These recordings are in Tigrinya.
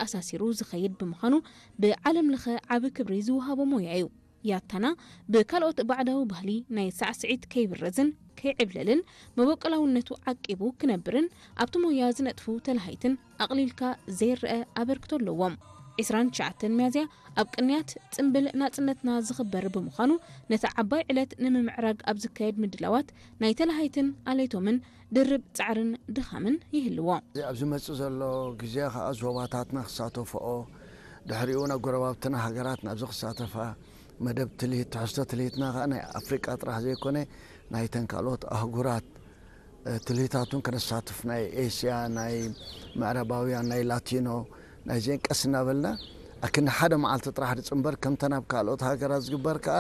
ኣተኣሳሲሩ ዝኸይድ ብምዃኑ ብዓለም ለኸ ዓቢ ክብሪ ዝወሃቦ ሞያ እዩ። ያታና ብካልኦት ባዕዳዊ ባህሊ ናይ ሳዕስዒት ከይብረዝን ከይዕብለልን መበቆላውነቱ ዓቂቡ ክነብርን ኣብቲ ሞያ ዝነጥፉ ተላሃይትን ኣቕሊልካ ዘይረአ ኣበርክቶ ኣለዎም። ዕስራን ትሽዓተን ሚያዝያ ኣብ ቅንያት ጽምብል ናጽነትና ዝኽበር ብምዃኑ ነቲ ዓባይ ዕለት ንምምዕራግ ኣብ ዝካየድ ምድላዋት ናይ ተላሃይትን ኣለይቶምን ድርብ ጻዕርን ድኻምን ይህልዎ። እዚ ኣብ ዝመጽእ ዘሎ ግዜ ከኣ ዞባታትና ክሳተፍኦ፣ ድሕሪኡ እውን ኣብ ጎረባብትና ሃገራት ናብዚ ክሳተፋ፣ መደብ ትልሂት፣ ትሕዝቶ ትልሂትና ከኣ ናይ ኣፍሪቃ ጥራሕ ዘይኮነ ናይተን ካልኦት ኣህጉራት ትልሂታቱን ከነሳትፍ፣ ናይ ኤስያ፣ ናይ ምዕራባውያን፣ ናይ ላቲኖ፣ ናይዚአን ቀስ እናበልና ኣክንዲ ሓደ መዓልቲ ጥራሕ ዝጽንበር ከምተን ኣብ ካልኦት ሃገራት ዝግበር ከኣ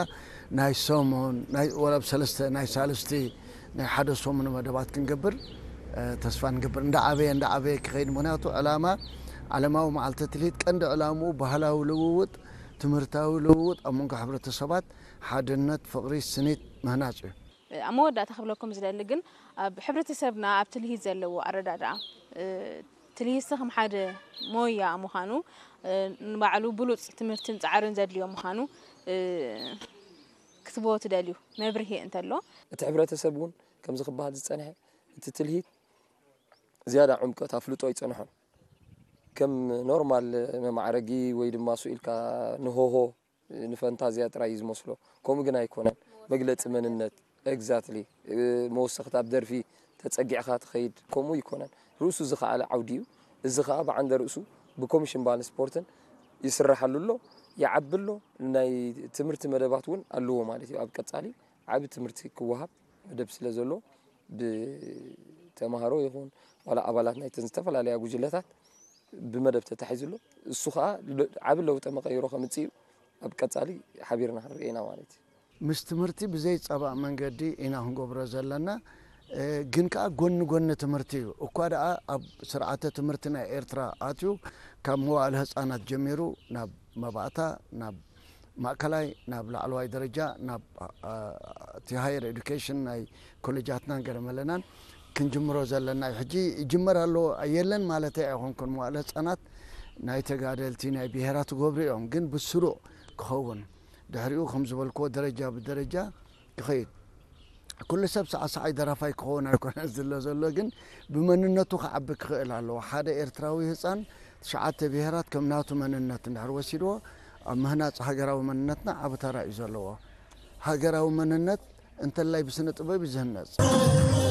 ናይ ሰሙን፣ ናይ ወላ ኣብ ሰለስተ፣ ናይ ሳልስቲ፣ ናይ ሓደ ሰሙን መደባት ክንገብር ተስፋ ንገብር። እንዳዓበየ እንዳዓበየ ክኸይድ፣ ምኽንያቱ ዕላማ ዓለማዊ መዓልቲ ትልሂት ቀንዲ ዕላምኡ ባህላዊ ልውውጥ፣ ትምህርታዊ ልውውጥ ኣብ መንጎ ሕብረተሰባት ሓድነት፣ ፍቕሪ፣ ስኒት ምህናጽ እዩ። ኣብ መወዳእታ ክብለኩም ዝደሊ ግን ኣብ ሕብረተሰብና ኣብ ትልሂት ዘለዎ ኣረዳድኣ ትልሂትሲ ከም ሓደ ሞያ ምዃኑ ንባዕሉ ብሉፅ ትምህርትን ፃዕርን ዘድልዮ ምዃኑ ክትቦ ትደልዩ መብርሂ እንተሎ እቲ ሕብረተሰብ እውን ከምዚ ክበሃል ዝፀንሐ እቲ ትልሂት ዝያዳ ዕምቀት ኣፍልጦ ኣይፀንሖን ከም ኖርማል መማዕረጊ ወይ ድማ ስኢልካ ንሆሆ ንፈንታዝያ ጥራይ እዩ ዝመስሎ። ከምኡ ግን ኣይኮነን። መግለፂ መንነት exactly መወሰኽቲ ኣብ ደርፊ ተፀጊዕኻ ትኸይድ ከምኡ ኣይኮነን። ርእሱ ዝኸኣለ ዓውዲ እዩ። እዚ ከዓ ብዓንደ ርእሱ ብኮሚሽን ባህልን ስፖርትን ይስረሓሉ ኣሎ፣ ይዓቢ ኣሎ። ናይ ትምህርቲ መደባት እውን ኣለዎ ማለት እዩ። ኣብ ቀፃሊ ዓቢ ትምህርቲ ክወሃብ መደብ ስለ ዘሎ ብተምሃሮ ይኹን ዋላ ኣባላት ናይተን ዝተፈላለያ ጉጅለታት ብመደብ ተታሒዙ ኣሎ። እሱ ከዓ ዓቢ ለውጠ መቐይሮ ከምፅእ እዩ። ኣብ ቀፃሊ ሓቢርና ክንርኢ ኢና ማለት እዩ። ምስ ትምህርቲ ብዘይፀባእ መንገዲ ኢና ክንገብሮ ዘለና። ግን ከዓ ጎኒ ጎኒ ትምህርቲ እዩ። እኳ ደኣ ኣብ ስርዓተ ትምህርቲ ናይ ኤርትራ ኣትዩ ካብ መዋእለ ህፃናት ጀሚሩ ናብ መባእታ፣ ናብ ማእከላይ፣ ናብ ላዕለዋይ ደረጃ፣ ናብ እቲ ሃየር ኤዱኬሽን ናይ ኮሌጃትናን ገለመለናን ክንጅምሮ ዘለና እዩ። ሕጂ ይጅመር ኣሎ የለን ማለተይ ኣይኮንኩን። መዋእለ ህፃናት ናይ ተጋደልቲ ናይ ብሄራት ክገብሩ እዮም፣ ግን ብስሩዕ ክኸውን ድሕሪኡ ከም ዝበልክዎ ደረጃ ብደረጃ ክኸይድ። ኩሉ ሰብ ሰዓሰዓይ ደራፋይ ክኸውን ኣይኮነን ዝሎ ዘሎ፣ ግን ብመንነቱ ክዓቢ ክኽእል ኣለዎ። ሓደ ኤርትራዊ ህፃን ትሽዓተ ብሄራት ከም ናቱ መንነት እንድሕር ወሲድዎ ኣብ ምህናፅ ሃገራዊ መንነትና ዓቢ ተራ እዩ ዘለዎ። ሃገራዊ መንነት እንተላይ ብስነ ጥበብ እዩ ዝህነፅ።